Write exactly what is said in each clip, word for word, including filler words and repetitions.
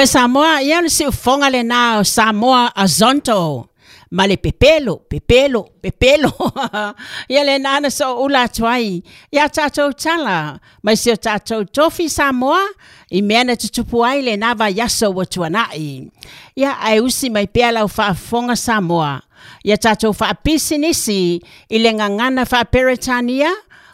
Samoa, ia le siufoga lenā o Samoa Azonto ma le pepelo, pepelo, pepelo. Ia lenā na soʻoula atu ai ia tatou tala mai si o tatou tofi Samoa i mea na tutupu ai lenā vaiaso ua tuanaʻi. Ia ae usi mai pea lau faafofoga Samoa ia tatou faapisinisi i le gagana faaperetania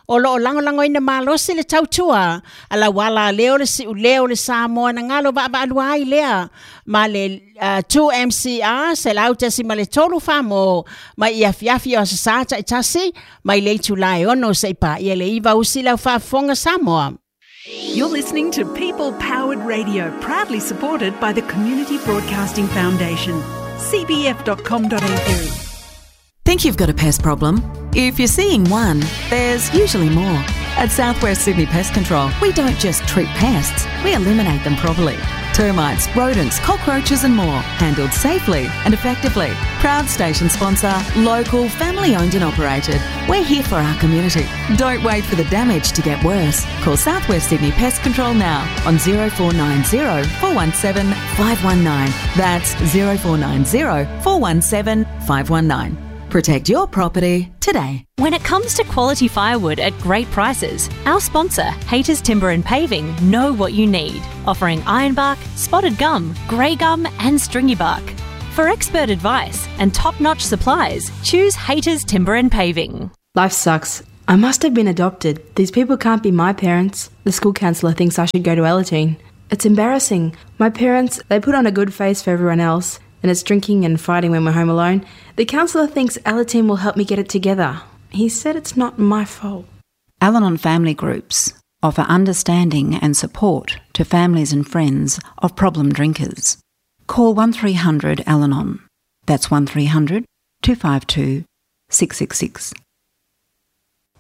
o loo lagolagoina malosi le tautua a lau ala lea o le siuleo o le Samoa na galo vaavaalua ai lea ma le uh, two M C R selau tasi ma le tolu famo mai i afiafi o aso sa taitasi mai le itula e ono seʻi paia le iva usi lau faafofoga Samoa. You're listening to People Powered Radio, proudly supported by the Community Broadcasting Foundation, C B F dot com dot A U. Think you've got a pest problem? If you're seeing one, there's usually more. At Southwest Sydney Pest Control, we don't just treat pests, we eliminate them properly. Termites, rodents, cockroaches and more, handled safely and effectively. Proud station sponsor, local, family owned and operated. We're here for our community. Don't wait for the damage to get worse. Call Southwest Sydney Pest Control now on zero four nine zero, four one seven, five one nine. That's zero four nine zero, four one seven, five one nine. Protect your property today. When it comes to quality firewood at great prices, our sponsor, Hayters Timber and Paving, know what you need, offering ironbark, spotted gum, grey gum and stringy bark. For expert advice and top-notch supplies, choose Hayters Timber and Paving. Life sucks. I must have been adopted. These people can't be my parents. The school counsellor thinks I should go to Alateen. It's embarrassing. My parents, they put on a good face for everyone else, and it's drinking and fighting when we're home alone. The counsellor thinks Alateen will help me get it together. He said it's not my fault. Al-Anon family groups offer understanding and support to families and friends of problem drinkers. Call one three hundred Al-Anon. That's one three hundred, two five two, six six six.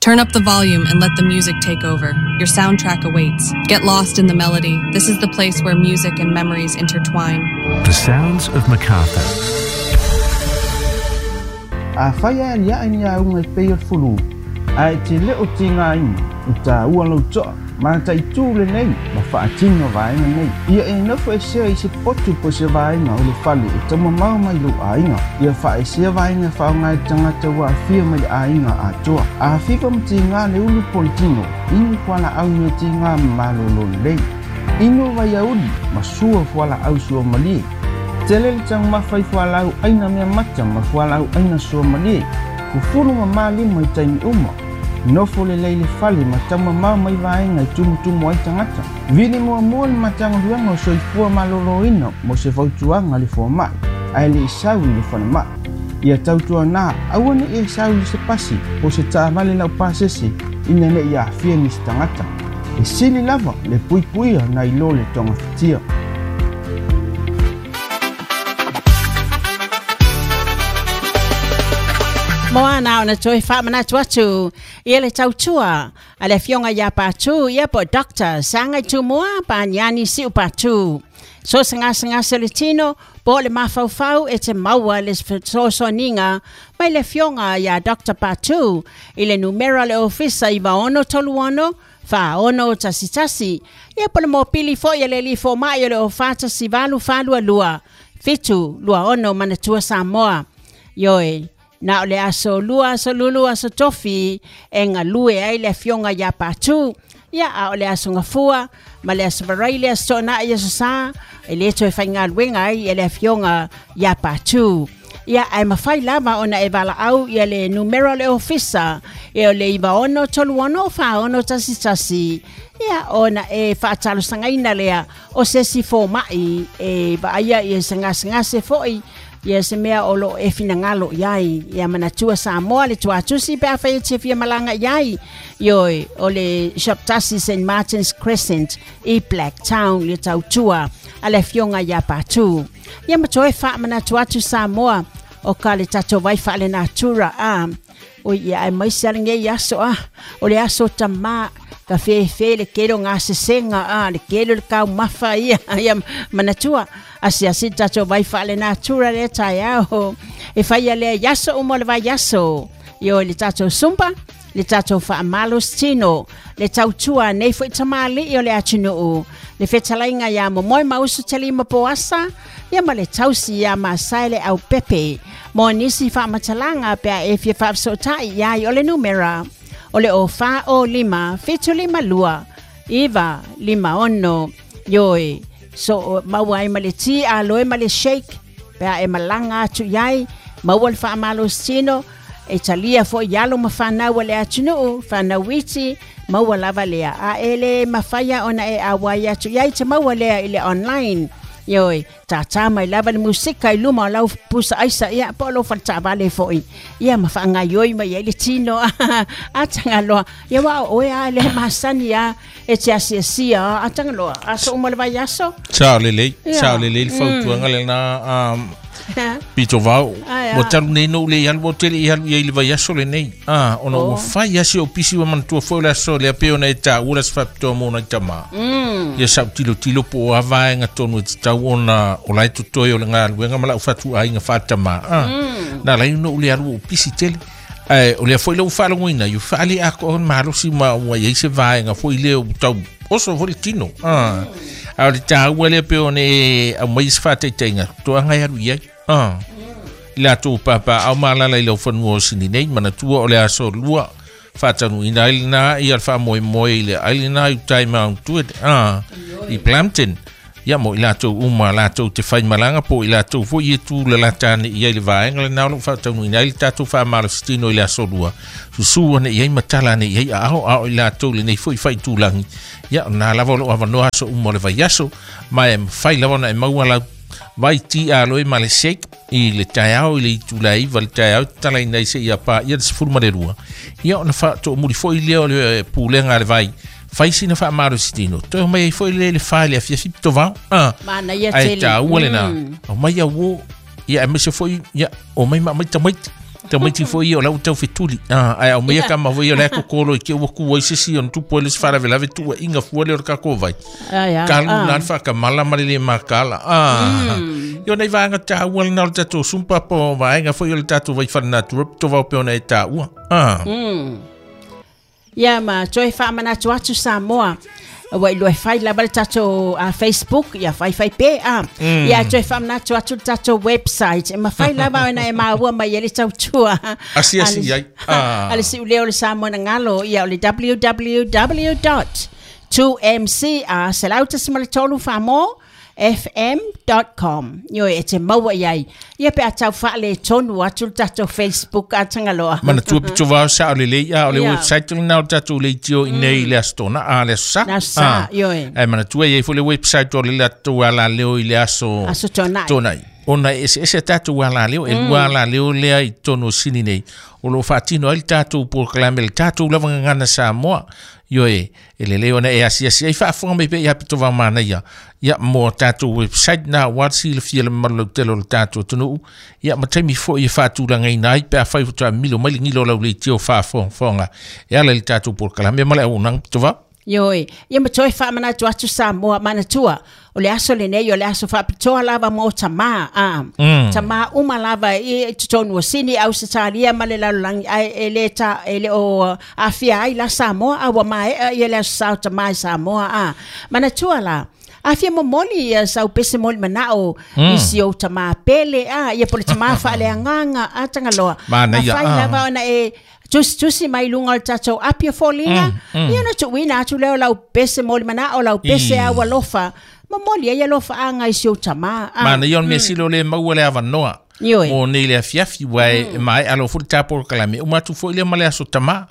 Turn up the volume and let the music take over. Your soundtrack awaits. Get lost in the melody. This is the place where music and memories intertwine. The Sounds of MacArthur. A whaia lia ni a unga i pei o fulu. A e te leo te ngā ina, i tā ua lau toa, ma tai tūle nei, ma whaatino vaenga nei. Ia e nofo e sea i se potu po se vaenga o le fale e tama mau mai lo ainga. Ia wha e sea vaenga whaonga e tangata wa whia mai le ainga a toa. A whipa ma te ngā le ulu politino, inu whala au me te ngā malolo lei. Inu vai auli, ma sua whala au sua malie. Te lele tang mawhai whalau aina mea mata ma whalau aina sua malie. Kufuru ma mali mai taimi uma. Nofo le leile fale ma tama mau mai vaenga i tumutumu ai tangata. Vili mua mua le matanga luanga o soifua maloloina mo se fautuanga le fua mai. Ae le isau i le whana mai. Ia tautua nā, aua ne e isau i se pasi o se taavale lau pasese ina ne i awhia ni se tangata. E sili lava le puipuia na ilo le tonga fitia. Moana ona toe whaamanatu atu ia le tautua a le fionga ia pātū ia po Doctor Sangai Tumua pāniani siu pātū. So sanga sanga se le tino po le mafaufau e te maua le sosoninga mai le fionga ia Doctor Pātū i le numera le ofisa i vaono tolu ono wha ono tasi tasi ia po le mopili fo ia le lifo mai le ofata si valu whalua lua fitu lua ono manatua Samoa. Ioe. Na o le aso lua, aso lulu, aso tofi, e ngā lue ai le fionga ia pātū. Ia a o le aso ngafua, ma le aso varai le aso nā i aso sā, e le toe whai ngā luenga ai e le fionga ia pātū. Ia ai mawhai lava ona e wala au ia le numero le ofisa, e o le iwa ono tolu ono wha ono tasi tasi. Ia ona e whaatalo sangaina lea o sesi fō mai e vaaya i e sangasangase foi. Ia se mea o lo e finangalo iai ia manatua Samoa le tuatusi pe awhai te fia malanga iai ioi o le shop tasi Saint Martin's Crescent i Blacktown le tautua a le fionga ia pātū. Ia matoe wha manatua atu Samoa o ka le tato vai wha le natura a o ia ai mai se alenge i aso a o le aso tamā ka whewhe le kero ngā sesenga a le kero le kau mawha ia ia manatua asi asi tato vai wha le natura le tai ao e whaia le yaso umo le vai yaso io le tato sumpa Le tatou faamalositino le tautua nei fo'i tamali'i o le atunuu le fetalaiga iā momoe ma usu talima poasa ia ma le tausi iā masae le aupepe mo nisi faamatalaga pe a e fia faafesoota'i iai o le numera o le o fa o lima fitu lima lua iva lima ono ioe so maua ai ma le ti aloe ma le shake pe a e malaga atu iai maua le faamalositino e talia fo'i alo ma fanau o le atunuu fanau iti maua lava lea a e le mafaia ona e auai atu iai te maua lea i le online ioe tātā mai lava le musika i luma o lau pusa aisa ia po o lou faletaavale fo'i ia ma faagaioi mai ai le tino atagaloa ia ua o oe a le masani a e te asiasia atagaloa aso uma le vaiaso sao lelei sao lelei le fautuaga lena pito vau ua talu nei noʻu le i alu ua tele i alu iai le vaiaso lenei a ona ua fai asi o pisi ua manatua foi o le aso lea pe ona e taʻua le aso faapitoa mo nai tamā ia saʻutilotilo po o a vaega tonu e tatau ona o lae totoe o le galuega ma laʻu fatuaiga faatamā a na alai noʻu le alu ua pisi tele ae o lea foi lou faalogoina iu faale atoa malosi ma ua iai se vaega foi lea ua tau oso foi le tino a a o le taua lea pe ona e aumai se faataitaiga toaga e alu iai ah i latou papa au malala i lau fanua o sini nei manatua o le aso lua faatanuina ai lena ia le faamoemoe i le ai lena i utai maautuet ah i Plumpton ia mo i latou uma latou te faimalaga po i latou foi e tu lalata ane i ai le vaega lena o loo faataunuina ai le tatou faamalositino i le aso lua susū ane i ai matala ane i ai aao ao i latou lenei foi faitulagi ia na lava o loo avanoa aso uma o le vaiaso ma e mafai lava ona e maua lau vai ti aloe ma le shake i le taeao i le itula iva le taeao tatalaina ai seia paia le sefulu ma le lua ia ona faatoomuli fo'i lea o le pulega a le vai fai sina faamalositino toe omai ai fo'i le le fa le afiafi pitovao a ae taua lena aumai auō ia aemaise fo'i ia omai maamai tamaiti tamaiti fo'i ia o lau taufetuli a ae aumaia kama foi o le kokolo i ke ua ku ai sesi ona tupu ai le se faalavelave tuuaʻiga fua lea o le takou vai kalu na le faakamala ma le lē makala a ia ona i vaega taua lena o le tatou sumpa po vaega foi o le tatou vai falenatura pitovao pe ona e taua a ia ma toe faamanatu atu Samoa ua iloa e fai lava le tatou uh, Facebook ia faifai pe a ia toe faamanatu atu le tatou website e mafai lava ona e maua mai ai le tautua asiasi ai a le siʻuleo le Samoa na galo ia o le www dot two m c r selau tasi ma le tolu faamo f m dot com ioe e te maua iai ia pe a tau faaletonu atu le tatou Facebook atagaloa manatua pitovao sao lelei a o le website lena o le tatou leitio i nei le aso tona a le aso sa ioe ae manatua iai foi le website o le latou alaleo i le aso aso tonai tonai ona e eseese tatou alaleo e lua alaleo lea i totonu o sini nei o loo faatino ai le tatou polokalame le tatou lava gagana Samoa ioe e lelei ona e asiasi ai faafofoga mai pea ia pitovao manaia ia mo tatou website na ua silafia le mamalu lautele o le tatou atunuu ia ma taimi fo'i e faatulagaina ai pe afai faatoa milo mai le gilo o lau leitio faafogafoga e ala i le tatou polokalame ma le auaunaga pitovao Ioe ia ma toe faamanatu atu Samoa manatua o le aso lenei o le aso faapitoa lava mo tamā a tamā uma lava i totonu o Sini Ausetalia ma le lalolagi ae e le ta e le o afia ai la Samoa a ua maeʻa ia le aso sa o tamā i Samoa a manatua la afia momoli ia sau pese moli manao mm. isi o tamā pele a ia po le tamā faaleagaga a tagaloa afai lava ona e tusi tusi mai luga o le tatou api o foliga ia ona tuuina atu lea o lau pese moli manao lau pese au alofa momoli ai alofaaga i si ou tamā manaia o le mea sili o le maua le avanoa mo nei le afiafi ua e maeʻa loa foi le tapolokalame uma atu foi lea ma le aso tamā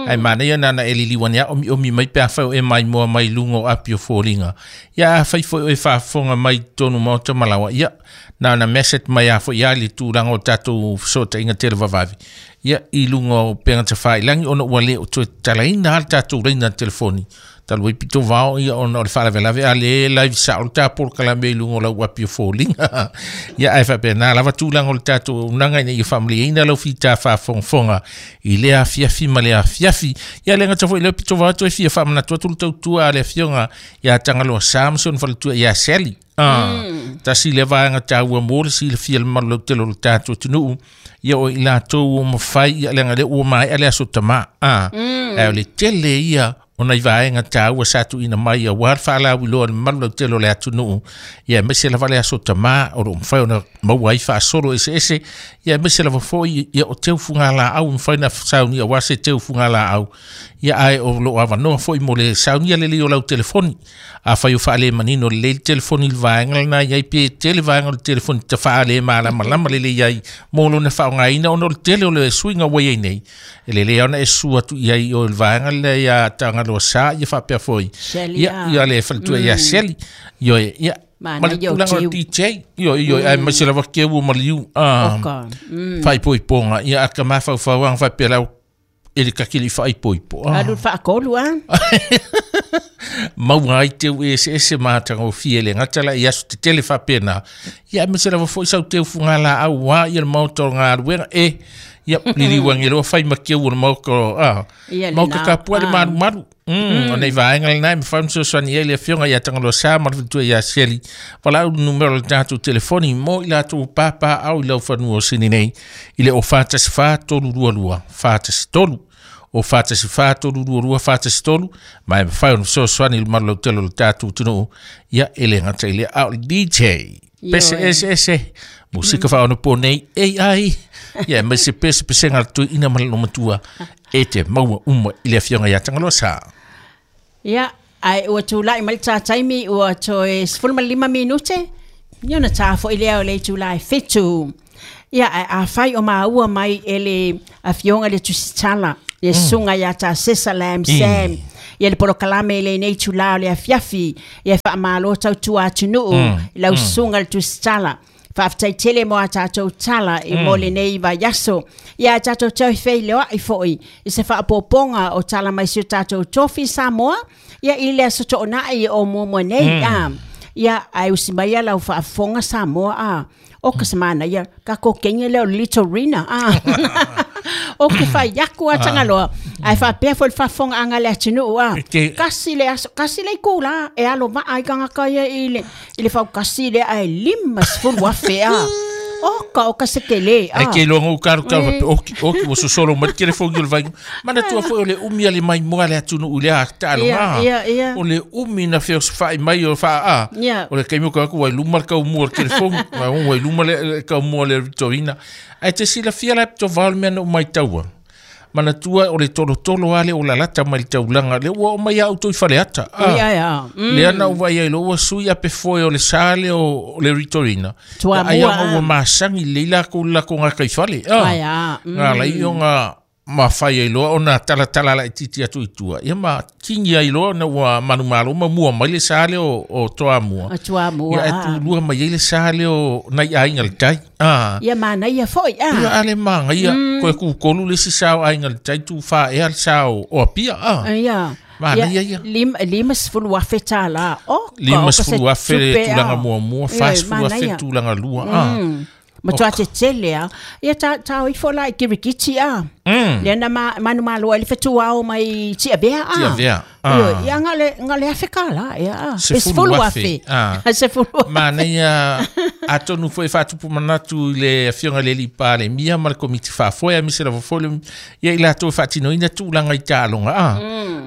ae manaia nana e liliuani a omiʻomi mai pe afai o e maimoa mai luga o api o foliga ia afai foi o e faafofoga mai totonu maota malaoa ia na ona message mai a foi ia le tulaga o tatou fesootaiga televavave ia i luga o pega tafailagi ona ua lē o toe tatalaina a le tatou laina telefoni talu ai pitovao ia ona o le faalavelave a le live sao le tapolokalame i luga o lau api o foliga ia ae faapena lava tulaga o le tatou auaunaga ina ia faamaliaina lau fita faafogafoga i le afiafi ma le afiafi ia le gata foi lea pitovao toe fia faamanatu atu le tautua a le afioga ia Tagaloa Sa ma si ona faletua ia Sally. Ah, Tasi le vaega taua mo le silafia le mamalu lautele o le tatou atunuu ia o i latou ua mafai ia leaga lea ua maea le aso tamā a ae o le tele ia o nai vaega taua sa tuuina mai auā le faalauiloa i le mamalu lautele o le atunuu ia aemaise lava le aso tamā o loo mafai ona maua ai faasolo eseese ia aemaise lava foi ia o teufugalaau e mafai ona saunia auā se teufugalaau ia ae o loo avanoa foi mo le saunia lelei o lau telefoni afai o faalemanino lelei le telefoni i le vaega lena iai pe tele vaega o le telefoni tafaalemalama lelei ai mo lona faaaogaina ona o le tele o le suiga ua iai nei e lelei ona e sua atu iai o le vaega lea ia Tagaloa Sa ia faapea foi ia ia le faletua ia Seli ioe ia ma le tulaga o le D J ioe ioe aemaise lava keu ma liu a faaipoipoga ia a ka mafaufauaga faapea lau e le kakili faaipoipo alu faakolu a maua ai teu eseese ma atagofie le gata la i aso tetele faapena ia aemaise lava foi sau teufugalaau auā ia le maota o galuega e ia liliuageloa fai ma keu o le maota a maota kapua le malumalu o nei vaega lenai mafai ona fesoasoani ai le afioga ia Tagaloa Sa ma le faletua ia Seli valaau le numera o le tatou telefoni mo i latou papaau i lau fanua o Sini nei i le o fa tasi fa tolu lua lua fa tasi tolu o fa tasi fa tolu lua lua fa tasi tolu ma e mafai ona fesoasoani i le mamalu lautele o le tatou atunuu ia e le gata i lea a o le D J pese ese ese musika faaonapo nei A I ia aemaise pese pesega le tuiina ma le lomatua e te maua uma i le afioga ia Tagaloa Sa. Ia ai ua tulai mai le tataimi ua toe sefulu ma le lima minute ia ona ta fo'i lea o le itulā e fitu. Ia ae afai o maua mai e le afioga le tusitala le susuga ia Tasesa Lam Sam ia le polokalame i lenei itulā o le afiafi ia faamālō tautua atunuu i lau susuga le tusitala. Faafetai tele mo a tatou tala i mo lenei vaiaso. Ia a tatou toe feiloai fo'i i se faapopoga o tala mai si o tatou tofi Samoa ia i le aso toonai o muamua nei a. Ia ae usi mai ia lau faafofoga Samoa a. O ka semana ia ka kokenge leo Little Rina a. O ke whai aku a Tagaloa. Ai whapea fo le faafofoga anga le atunuu a. Kasi le aso, kasi le ikula e alo maa i kangaka ia i le, i le faukasi le ae lima sefulu afe a. O ka o ka se tele a. Ai ke loa ngau karu karu faapea oki oki ua sosolo mai le telefoni o le vaiga. Manatua foi o le umi a le maimoa le atunuu i le a taaloga. Ia ia. O le umi na feosofai mai o faa a. O le taimi o ka aku ua i luma le kaumua o le telefoni. Ua i luma le kaumua o le Ritorina. Ae te silafia la e pitovao le mea na ou maitaua. Manatua o le tolotolo ale o lalata mai le taulaga le ua o mai au toi faleata. Ia ia. Lea na uvaai ai loa ua sui a pe foe o le sa lea o le Ritorina. Ai aga ua masagi lelei lakou le lakou gakaifale. Aia. Ga lai ona mafai ai loa ona talatala laitiiti atu i tua. Ia ma kingi ai loa ona ua manumalo ma mua mai le sa lea o, o Toamua. O Toamua. Ia e tulua mai ai le sa lea o nai aiga le tai. Ah. Ia manaia foi a. Ia ale magaia koe kukolu le isi sa o aiga le tai tufā ea le sa o, o Apia. Ah. Ia. Manaia ia. Lima, lima sefulu afe tālā. O, ka Lima o ka se sefulu afe le tupe tulaga a. muamua, fa Ia, sefulu afe le manaia. tulaga lua. Ah. Ma toa te tele a. Ia ta, ta ifo la i kirikiti a. Mm. Lea na ma, manu malo ai le fetuao mai Tiavea a. Tiavea. Ah. Ia nga le, nga le afe ka la. Ia a. Sefulu Sefulu afe. afe. Ah. Sefulu afe. Manaia atonu foi faatupu manatu i le afioga le alii Palemia ma le komiti faafoe aemaise lava foi le ia i latou faatinoina tulaga i taaloga a.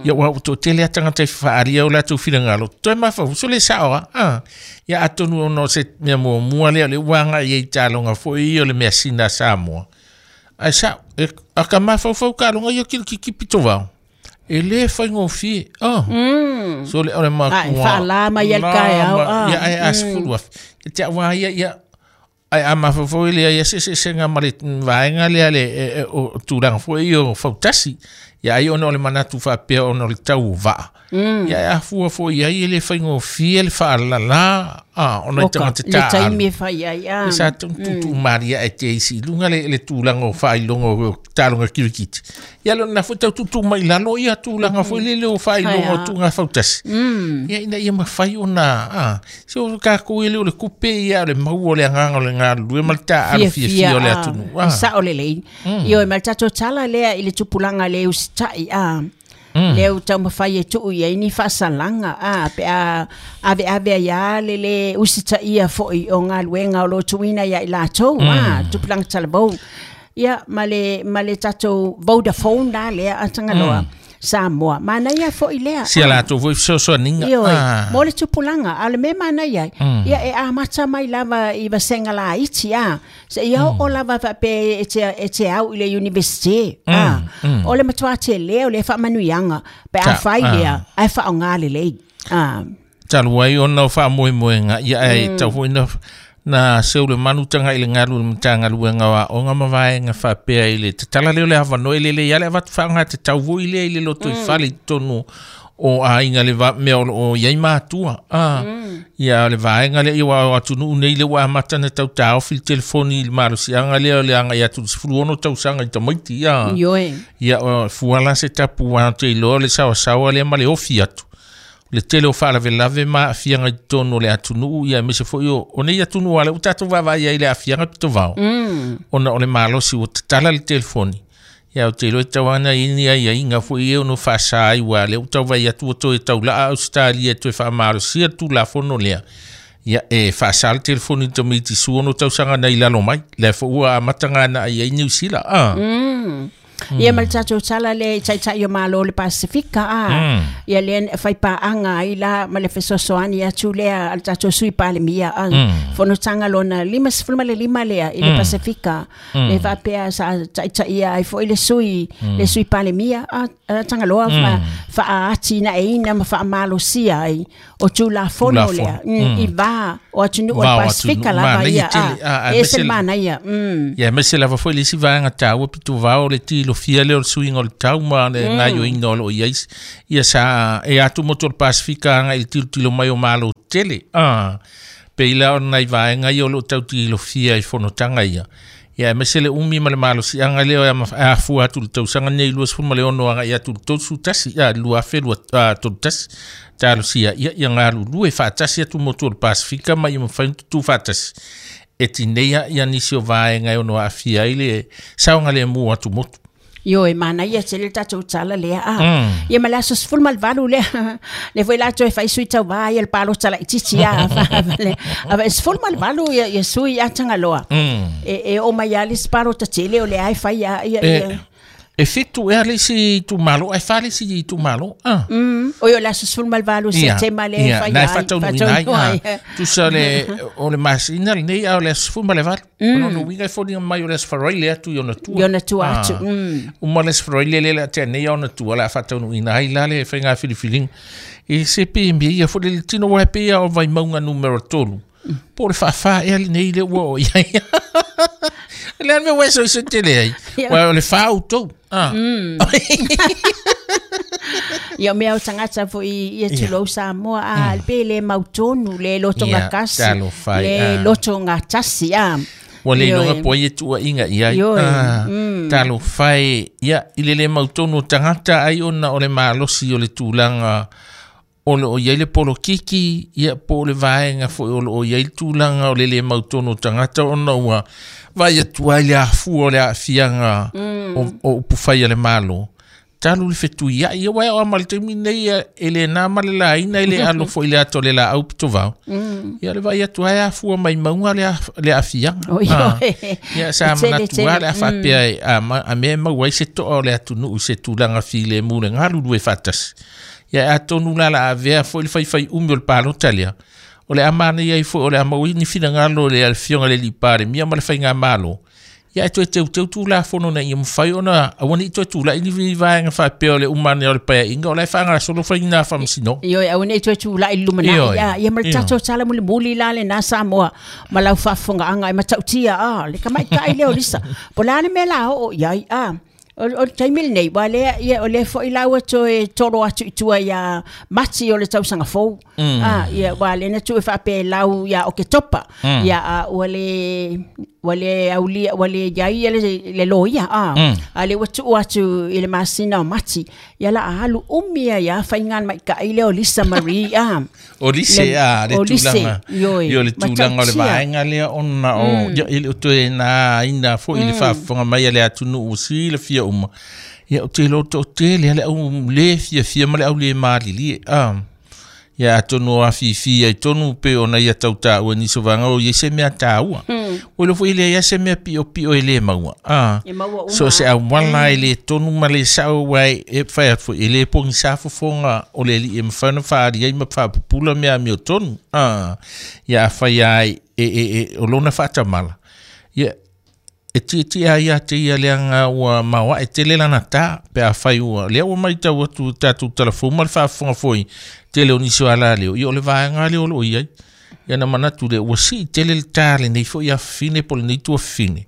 Ia ua toatele a tagata i faalia o latou finagalo toe mafauso le sao a. Ah. Ia atonu ona o se mea muamua lea o le ua agai ai i taaloga foi ia o le measina a Samoa. Ae sao e a ka mafaufau taaloga ia kilikiki pitovao. E le faigofie. Ah. Mm. So le o le makua. Ai faalā mai ai le kaeao a. Ia ai a sefulu afe. E te au ia ia ai a mafaufau le ia se se senga ma le vaega lea le o tulaga foi o fautasi. Ia ai ona o le manatu faapea ona o le tau o vaa. Ia a fua foi ai e le faigofie le faalalā a ona i tagata Le taaalo. taimi e fai ai a. E sa tutu maria e te isi lunga le, le tulaga o faailoga o taaloga kirikiti. Ia lona foi tau tutu mai lalo ia tulaga foi le le o faailoga o tuga fautasi. Ia ina ia mafai ona a se o kakou e le o le kupe ia o le maua o le agaga o le galulue ma le taaalo fiafia o le atunuu. Sao lelei. Ioe ma le tatou tala lea i le tupulaga le usitai a. Mm. Leo taumafai e tuu i ai ni faasalaga a pe a ave ave ia le le usitaia foʻi o galuega o lo tuuina ia i latou a tupulaga talavou ia ma le ma le tatou Vodafone la lea a Tagaloa Samoa manaia foʻi lea Sia latou foi fesoasoaniga Ioe, mo le tupulaga a o le mea manaia ai ia e amata mai lava i vasega laiti a seia oo lava faapea e te e te au i le university a o le matuā telē o le faamanuiaga pe Ta- afai ah. lea ae faaaogā lelei a Talu ai ona o faamoemoega ia e tau foi na na seu le manu taga i le galu le matagaluega o aoga ma vaega faapea i le tatala lea o le avanoa e lelei a le avatu faaaoga tatau foi lea i le lotoifale i totonu o aiga le va- mea o loo iai matua a ia o le vaega lea ia ua o atunuu nei le ua amata na tautaofi le telefoni i le malosiaga lea o le agai atu i le sefulu ono tausaga i tamaiti ia ioe ia o fuala se tapu a te iloa le saoasaoa lea ma le ofi atu le tele o faalavelave ma aafiaga i totonu o le atunuu ia aemaise foi o o nei atunuu a le ua tatou vaavaai ai i le aafiaga pitovao ona o le malosi ua tatala le telefoni ia o te iloa e tau ana i ni aiaiga foi e ono faasā ai ua lea ua tauvai atu ua toe taulaa Ausetalia e toe faamalosia le tulafono lea ia e faasā le telefoni i tamaiti sua ono tausaga nai lalo mai lea foi ua amataga na ai ai Niu Sila a Ia ma le tatou tala le taitai o malo le Pasifika a ia le faipaaga ai la ma le fesoasoani atu lea a le tatou sui palemia a fonotaga lona lima sefulu ma le lima lea i le Pasifika le faapea sa taitaia ai foʻi le sui le sui palemia a a Tagaloa fa faaatinaeina ma faamalosia ai o tulafono lea Tulafono. mm, i va o atunuu o le Va o Pasifika atunuu. lava Manaia ia tele. a Ah, e aemaise se le- manaia mm. Ia aemaise lava foi le isi vaega taua pituvao le tilofia lea o le suiga o le tau ma le gaioiga o loo i ai ia sa e atu motu o le Pasifika agai i le tilotilo mai o malo tele a pei la o nai vaega ia o loo tau tilofia i fonotaga ia ia aemaise le umi ma le malosiaga lea e ama- e afua atu i le tausaga nei luasefulu ma le ono agai atu i le tolusu tasi a lua afe lua a, tolu tasi talosia ia ia galulue faatasi atu motu o le Pasifika ma ia mafai ona tutū faatasi e tineia ia nisi o vaega e ono aafia ai le saogalemu atu motu Ioe manaia tele le tatou tala lea a ia ma le aso sefulu ma le valu lea le foi latou e fai sui tauvā ia le palota laititi a le a sefulu ma le valu ia ia sui a Tagaloa e e oo mai a le isi palota tele o lea e fai a ia e ia e fitu ea le isi itumalo ae fa le isi itumalo a Mm. O le aso sefulu ma le valu Setema lea e ia fai na e ai faataunuuina ai faataunuuina a ai. tusa le o le masina lenei a o le aso sefulu ma le valu o lona uiga e foliga mai o le aso Faraile atu i ona tua I ona tua atu, Ah. mm. Uma le aso Faraile lea le a tea nei a ona tua o le a faataunuuina ai la le faiga filifiliga e se pe mea ia foi le tino ua e pei a o Vaimauga numera tolu po o le faafā ea lenei le ua o i ai le a le mea ua e soisoi tele ai Ia. ua o le fā outou ah Ia o mea o tagata foʻi ia tulou Samoa a pe le mautonu le lotoga Ia, kasi talofa ai, le ah. lotoga tasi a Ua le iloga Ioe. po ai e tuuaiga i ai Ioe, Ah, talofa e ia i le lē mautonu o tagata ai ona o le malosi o le tulaga o loo i ai le polokiki ia po o le vaega foi o loo i ai le tulaga o le lē mautonu o tagata ona ua vaai atu ai le afua o le aafiaga o, o upufai a le malo talu le fetuiai ia ua e o ma le taimi nei ia, e le nā ma le laina e le alo foi le ato le laau pitovao ia le vaai atu ai afua mai mauga le, af, le aafiaga O, Ah. ioe. Ia sa Tele, manatu tele. a le a faapea e a, ma, a mea e maua ai se toa o le atunuu i se tulaga filemu le galulue faatasi. Ia e atonu la la avea foi le faifai umi o le palota lea. O le a manaia ai foi o le a maua ai ni finagalo o le afioga i le alii Palemia ma le faigamalo. Ia e toe teuteu tulafono ina ia mafai ona aua nei toe tulai ni vaega faapea o le uma ane o le paeaiga o la e faagasolo faiga faamasinoga. Ioe aua nei toe tulai i le lumanai Ioe. a ia ma le Ioe. tatou tala mulimuli la lenā Samoa ma lau faafofogaaga e matautia a le tamaitaʻi lea o Lisa po o le a le mea la oo i ai a o o le taimi lenei ua lea ia o lea foʻi la ua toe tolo atu i tua iā Mati o le tausaga fou a ia ua lea na tuu e faapea e lau iā Oketopa ia a ua le ua le aulia ua le iai ia le le loia a a le ua tuu atu i le masina o Mati ia la a alu umi ai a faiga maitaʻi lea o Lisa Marie a O lise Le- a le o lise, tulaga ioe. Io le tulaga o le Matautia. vaega lea ona o ia e le o toe nā ina foi i le faafofoga mai a le atunuu silafia uma Ia o te lo to te le le au le fia fia ma le au le malili a ia atonu a fifi ai tonu pe ona ia tauta ua ni sovanga o ia se mea tāua. O lo foi le ia se mea pio pio e le maua. Ah. So se au wala e le tonu ma le sao wai e whai atu e le pongi safofonga o le li e mwhana whaari ai ma whapupula mea meo tonu. Ah. Ia whai ai e e e o lona whaatamala. Ia e ti ti a ia te ia leanga ua maua e tele lana tā pe a whai ua. Lea ua mai tau atu tātou telefou ma le whaafonga foi tele o nisi o ala leo. Ia o le vaenga leo lo iai. Ia na manatu le ua si tele le tā le nei fo ia fine po le nei tua fine.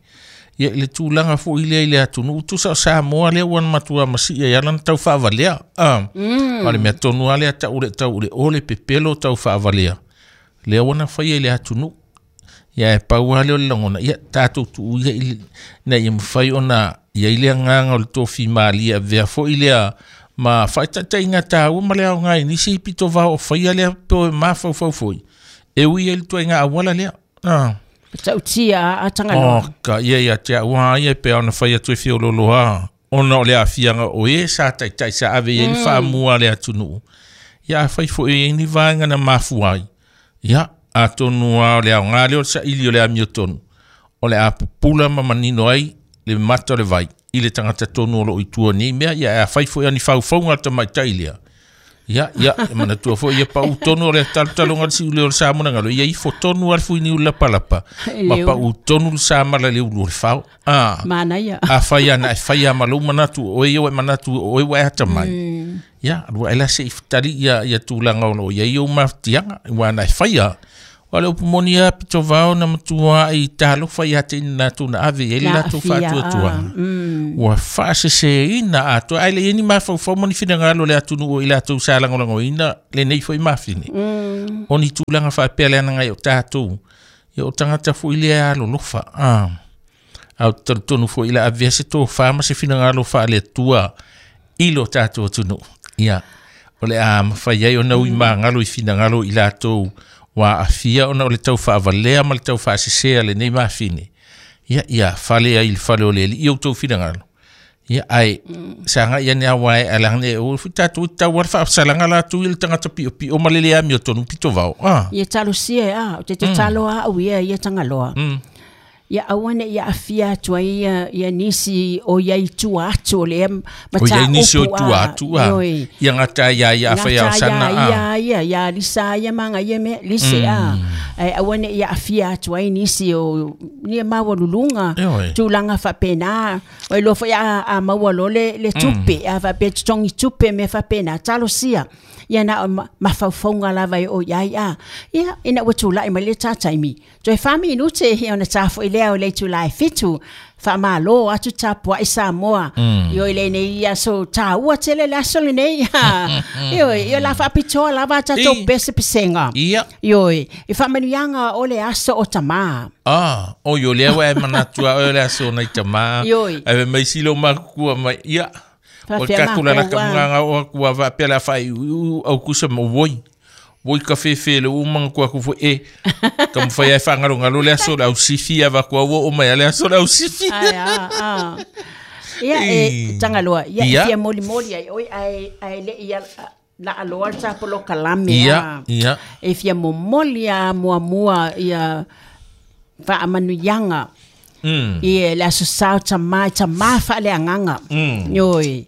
Ia le tūlanga fo i lea i le atunu. Utusa o Samoa lea ua na matua masi ia ia lana tau whaavalea. Ah. Mm. O le mea tonu a lea tau le tau le ole pepelo tau whaavalea. Lea ua na whai i le atunu. Ia e paua leo le langona. Ia tātou tu ia i na ia mwhai ona ia i lea nganga o le tōfi malia vea fo i lea ma whaitatai ngā tāua ma lea o ngai nisi i pito vao o whaia lea po e mawhau whau foi. E ui e litua i ngā awala lea. Ah. Tau tia a tangaloa. Oh, ka ia ia tia ua ia pe ona whai atu e whio loloa. Ona o lea whianga o e sa taitai sa ave ia mm. i whaamua lea tunuu. Ia whai fo e ni vaenga na mafuai. Ia a tonu a o lea o ngā leo sa ili o lea mio tonu. O lea pupula ma manino ai le mata o le vai. I le tangata tonu o lo i tua ni mea. Ia a whai fo e ani whaufaunga ta maitai lea. Ia, ia, e mana tua fo, ia pau tonu o le talutalonga si ule o le Samoa ngalo. Ia ifo tonu al fui ni ula palapa. Ma pau tonu le Samala le ulu o le whao. Ah. Mana ia. A whai ana, e whai a malo manatu, o e o e manatu, o e wa e hata mai. Mm. Ia, rua ela se iftari ia, ia tūlanga ono, ia i o maftianga, ua ana e whai a. O le upumoni a pito vao na matua i talofa i ate ina tuna ave i ele lato whaatua tua. Ua whaasese ina atua. Ai le ini mawhau moni whina le atunu o i lato sa langolango ina le nei fo i mawhine. O ni tūlanga whaapea le ananga i o tātou. Ia o tangata fo i lea alo lofa. Ah. Au tonu fo i la avea se tō whaama se whina ngalo wha le tua i lo tātou atunu. Ia. O le a mawhai ai o nau i maangalo i whina ngalo i lato wa afia ona o le tau whaavalea ma le tau whaasesea le nei mawhine. Ia, ia, whale ai le whale o le li, i au tau whina ngalo. Ia, ai, sanga ia nea wae, alanga o tātou tau wara whaasalanga la tu i le tangata pio pio ma lele a mio tonu pito vao. Ah. Ia talo sia, ah, o te te talo a au ia, ia tangaloa. Mm. Ia awane ia afia atu ai ia, ia nisi o ia i tua atu o le o ia nisi o tua atu a ia ngata ia ia awhai au sana a ia ia ia lisa ia manga ia me lise a e awane ia afia atu ai nisi o ni maua lulunga tūlanga whapena o lo fo ia a maua lo le le tupe a whape tongi tupe me whapena talo sia ia na mawhaufaunga lava o ia ia ia ina ua tūlai mai le tātaimi toe whami inute ia ona tāfo i lea o le tūlai fitu whamalo atu tāpua i Samoa mm. Io i le nei ia so tāua tele le aso le nei io io la whapitoa lava tātou pese pesenga ia io i whamanuianga o le aso o tamā. Ah, o io lea wa e manatua o le aso nei tamā ai mai silo makukua mai ia o kakula la kamunganga o akua wapea la whai au kusa mo woi. Woi ka whewhe le umanga kua kufu e. Ka mwhai ai whangaro ngalo le aso le au sifi a wakua ua o mai le aso le au sifi. Ai a, a. Ia e tangaloa, ia e fia moli moli ai oi ai ai le ia la aloa tapolo kalame. Ia, ia. E fia momoli a mua mua ia whaamanuianga. Mm. Ia le aso sao tamai tamā whaale anganga. Mm. Ioi.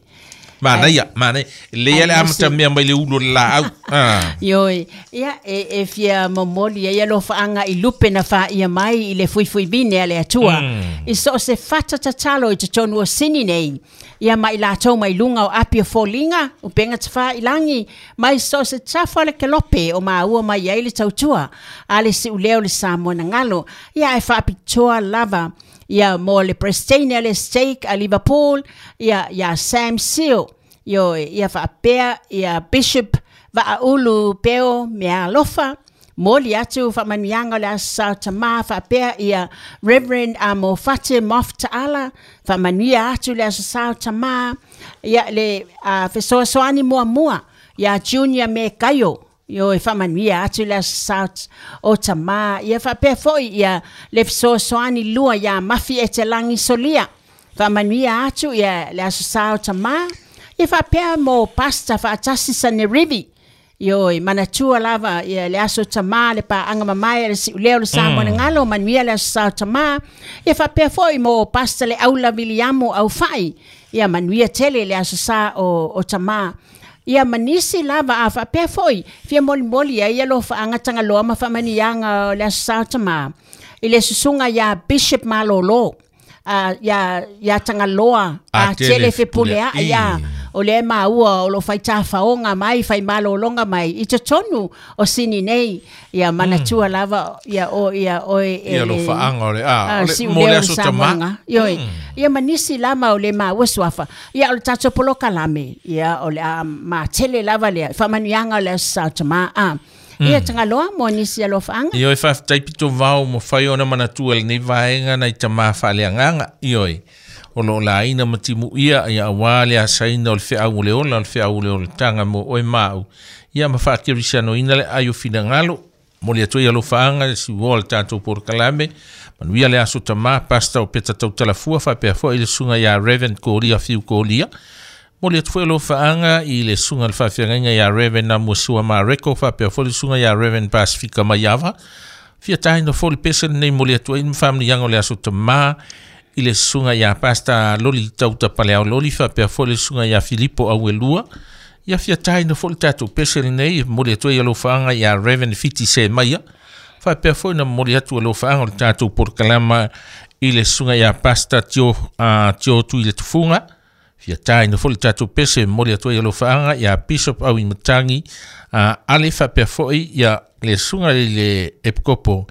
Mana ia, mana. Le ia le amata mea mai le ulo la au. Ah. Ioi. Ia e e fia momoli ia lo whaanga i lupe na wha ia mai i le fuifui vine a le atua. Mm. I so se fata tatalo i te tonu o sini nei. Ia mai lātou mai lunga o apia fōlinga, o penga te wha i langi, mai so se tafa le kelope o maua mai ai le tautua, a le si uleo le Samoa na ngalo. Ia e whaapitoa lava, ia mo le Presteina le Steak a Liverpool, ia, ia Sam Seal, io, ia whaapea, ia Bishop Vaaulu Peo Mea Alofa, moli atu whamanuianga le asa tamā whaapea ia Reverend Amo Fate Mof Ta'ala, whamanuia atu le asa tamā, ia le uh, fesoasoani mua mua, ia Junior me Kaio, io e whamanuia atu le asa o tamā, ia whaapea foi ia le fesoasoani lua ia Mafi e te langi solia, Faamanuia atu ia le aso sa o tamā. Ia faapea mo pasta faatasi Sanerivi. Ioe, manatua lava ia le aso tamā le paaga mamae a le siuleo o le Samoa mm. galo, manuia le aso sa o tamā. Ia faapea foi mo pasta le aula Viliamo au fai. Ia manuia tele le aso sa o, o tamā. Ia manisi lava a faapea foi fia molimoli ai ia alofaaga tagaloa ma faamanuiaga o le aso sa o tamā. I le susuga ia Bishop Malolo. Uh, ia ia Tagaloa a tele fepuleaʻi ia o le maua o lo faitafaoga mai faimalologa mai i totonu o sini nei ia manatua mm. lava ia o ia oe ia lo faaga o le a mo le aso tamā ioi ia manisi lama o le maua suafa ia o le tatou polokalame ia o le a matele lava lea faamanuiaga o le aso sa o tamā a ia Tagaloa mo nisi alofaaga. Ioe faafetai pito vao mo fai ona manatua lenei vaega nai tamā faaleagaga. Ioe o loo laina ma timuia ia auā le asaina o le feau o le ola o le feau o le olataga mo oe maau. Ia ma faakerisianoina le ai o finagalo mo le atu ai alofaaga le siuoa o le tatou polokalame. Manuia le aso tamā pasta o Peta Tautalafua faapea foi le susuga ia Reverend Kolia Fiu Kolia. Mo le atu foi alofaaga i le susuga le faafeagaiga ia Reverend Amuasua Mareko faapea foi le susuga ia Reverend Pasifika Maiava. Fia taina foi le pese lenei mo le atu ai ma faamanuiaga o le aso tamā i le susuga ia Pasta Loli Tauta Paleao Loli faapea foi le susuga ia Filipo Auelua. Ia fia taina foi le tatou pese lenei mo le atu ai alofaaga ia Reverend Fiti Semaia. Faapea foi na momoli atu alofaaga o le tatou polokalama i le susuga ia Pasta Tio, uh, Tio Tui le Tufuga. Fia taina foi le tatou pese momoli atu ai alofaaga ia Bishop Auimatagi uh, ale faapea foi ia le susuga i le Epikopo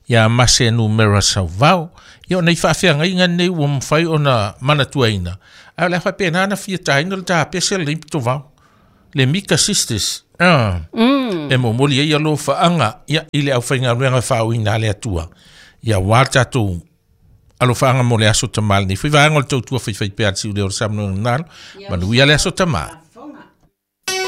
ia Mase Numera Sauvao. Ia o nei faafeagaiga nei ua mafai ona manatuaina. Ae o le a faapena na fia taina le tapese lenei pitovao. Le Mika Sisters. Ah. Mm. E momoli ai alofaaga ia i le aufaigaluega faauiina a le Atua. Ia uā le tatou alofaaga mo le aso tamā lenei. Foi vaega o le tautua faifaipea a le siuleo o le Samoa Galo. Manuia le aso tamā.